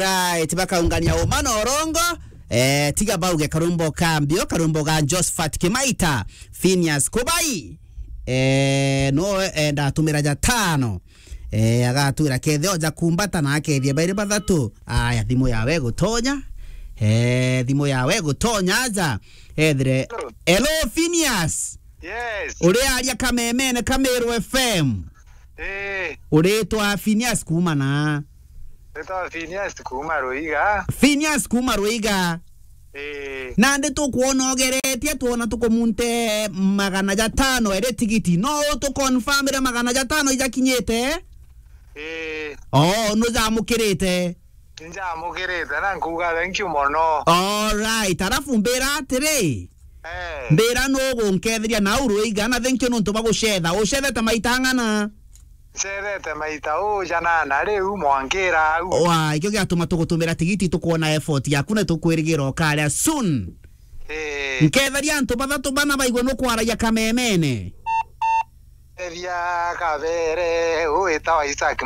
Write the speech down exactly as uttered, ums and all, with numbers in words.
Alright, bakaungania uma na urongo. Eh, tiga bauge karumbo ka mbio, karumbo ga Josephat Kimaita, Phineas Kubai. Eh, no enda atumira ja tano. Eh, agatwira kethe oja kumbata na akethia bairi bathatu. Aya, thimu yawe gutonya. Eh, thimu yawe gutonya aja. Ethire. Hello. Hello, Phineas. Yes. Uri aria kamemene ka Meru F M. Eh. Uritwa Phineas kuuma na? Ritwa Phineas kuuma Ruiga. Phineas kuuma Ruiga. Eh. Nandi tukwona ugeretie, twona tukumunte magana ja tano iri tigiti. No utuconfirmire magana ja tano ijakinyite? Eh. Oh, nujamukirite? Njamukirite na nkuuga thank you mono. Alright, alafu mbira atiri, eh, mbira nugunketheria nau Ruiga, na thank you nontu bwa gucetha. Ucethete maita ang'ana? Ncethete maita ujanana riu mwankira au. Wa, ikio giatuma tugutumira tigiti, tukwona effort yaku na tukwirigira ukaria soon. Eh. Nketheria antu bathatu bana baigwe nukwaragia kamemene. Nketheria kabere, witawa Isaac